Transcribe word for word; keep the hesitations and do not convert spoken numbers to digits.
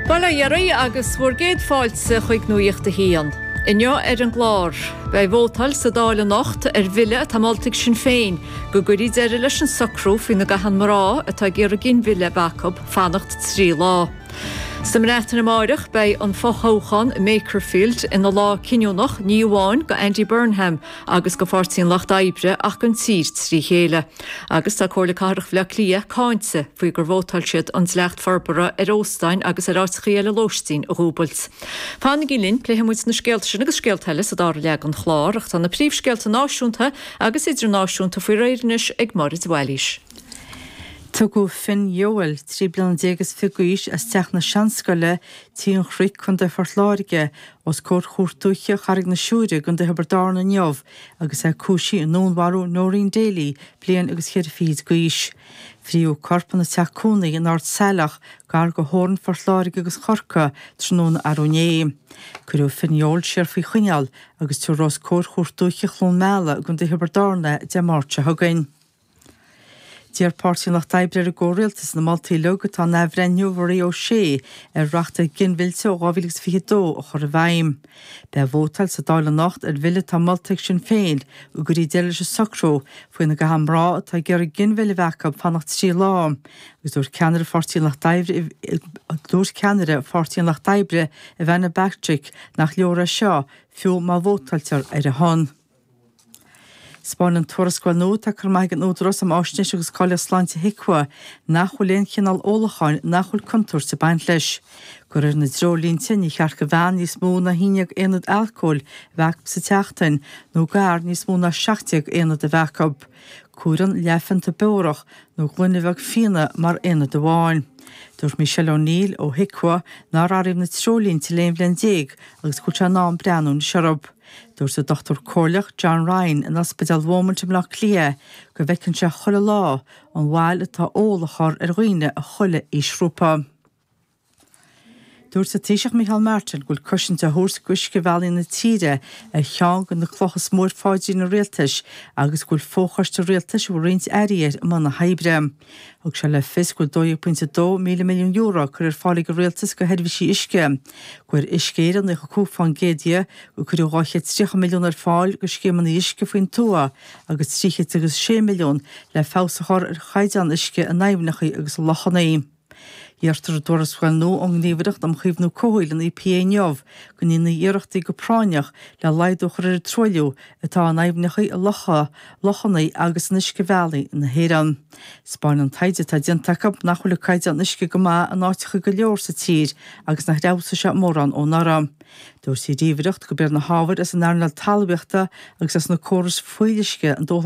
Bail ó Dhia oraibh agus bhur gcéad fáilte chuig Nuacht a hAon. Inniu ar an gclár, beidh vótáil sa Dáil anocht ar bhille atá molta ag Sinn Féin go gcuirfí deireadh leis an socrú faoina gcaitheann mná atá ag iarraidh ginmhilleadh a bheith acu fanacht trí lá. Sa mBreatain amárach beidh an fothoghchán Makerfield ina lá cinniúnach ní amháin go Andy Burnham agus go Pháirtí an Lucht Oibre ach don tír trí chéile. Agus tá Comhairle Cathrach Bhaile Átha Cliath cáinte faoi gur vótáil siad an dleacht forbartha ar óstáin agus ar áiteacha eile lóistín a dhúbailt. Fanaigí linn pléifimid na scéalta sin agus scéalta eile sa dara leath den chlár ach tá na príomhscéalta náisiúnta agus idirnáisiúnta faoi réir anois ag Máire de Bhailís. Tugadh Finn Yeowell trí bliana déag is fiche d'aois as teach na Seanscoile Tí an Chnoic Contae Phort Láirge os comhair Chúirt Dúiche Charraig na Siúire i gContae Thiobraid Árann inniu agus é cúisithe i ndúnmharú Noreen Daly bliain agus cheithre fichid d'aois. Fríodh a corp ina teach cónaí in Ard Saileach gar do theorainn Phort Láirge agus Chorcaí tráthnóna arú inné. Cuireadh Finn Yeowell siar faoi choinneáil agus tabharfar os comhair Chúirt Dúiche Chluain Meala i gContae Thiobraid Árann é Dé Máirt seo chugainn. D'iarr Páirtí an Lucht Oibre ar an gcomhrialtas na moltaí uilig atá in athbhreithniú Mharie O'Shea ar reachtaíocht ginmhillte ó dhá mhíle agus fiche dó a chur i bhfeidhm. Beidh vótáil sa Dáil anocht ar bhille atá molta ag Sinn Féin go gcuirfí deireadh leis an socrú faoina gcaitheann mná atá ag iarraidh ginmhilleadh a bheith acu fanacht trí lá. Agus dúirt ceannaire Pháirtí an Lucht Oibre dúirt ceannaire Pháirtí an Lucht Oibre Ivana Bacik nach leor é seo fiú má vótáiltear ar a shon. Spáineann tuarascáil nua atá curtha amach ag an Údarás um Fháisnéis agus Cáilíocht Sláinte HIQA nach bhfuil aon chineál ólacháin nach bhfuil contúirt ag baint leis. De réir na dtreoirlínte ní cheart do bhean níos mó ná haon déag aonad alcóil a bheith acu sa tseachtain nó d'fhear níos mó ná seacht déag aonad a bheith acu. Comhaireann leathphionta beorach nó gloine bheag fíona mar aonad amháin. Dúirt Michelle O'Neill ó HIQA nár athraíodh na treoirlínte le aon bhliain déag agus go bhfuil sé in am breathnú anois orthu. Dúirt an Dochtúir Comhairleach John Ryan in Ospidéal Beaumont i mBleá Cliath go bhfeiceann sé chuile lá an bhail atá ól a chur ar dhaoine i chuile aoisghrúpa. Dúirt an Taoiseach Micheál Martin go bhfuil cosaint á thabhairt d'uiscebhealaí na tíre ar cheann de na clocha is mó ar phaidrín an rialtais agus go bhfuil fochoiste rialtais a bhfuil roinnt airí air i mbun na hoibre. Thug sé le fios go bhfuil dó dhéag pointe dó míle milliún euro curtha ar fáil ag an rialtas go sheirbhísí uisce. Gur Uisce Éireann naocha cúig faoin gcéad dhe gur cuireadh dhá chéad tríocha milliún ar fáil go scéimeanna uisce faoin tuath agus trí chéad agus sé milliún le feabhas a chur ar chaighdeán uisce in aibhneacha agus lochanna. Deirtear i dtuarascáil nua ón nGníomhaireacht um Chaomhnú Comhshaoil an EPA inniu go ndéanfaí iarrachtaí go práinneach le laghdú a chur ar an truailliú atá in aibhneacha locha, lochanna agus in uiscebhealaí na hÉireann. Spáineann an taighde atá déanta acu nach bhfuil an caighdeán uisce go maith in áiteacha go leor sa tír agus nach bhfeabhsaigh sé mórán ó anuraidh. Dúirt an ghníomhaireacht gurb iad na hábhair as an earnáil talmhaíochta agus as na córais fuíolluisce an dúshlán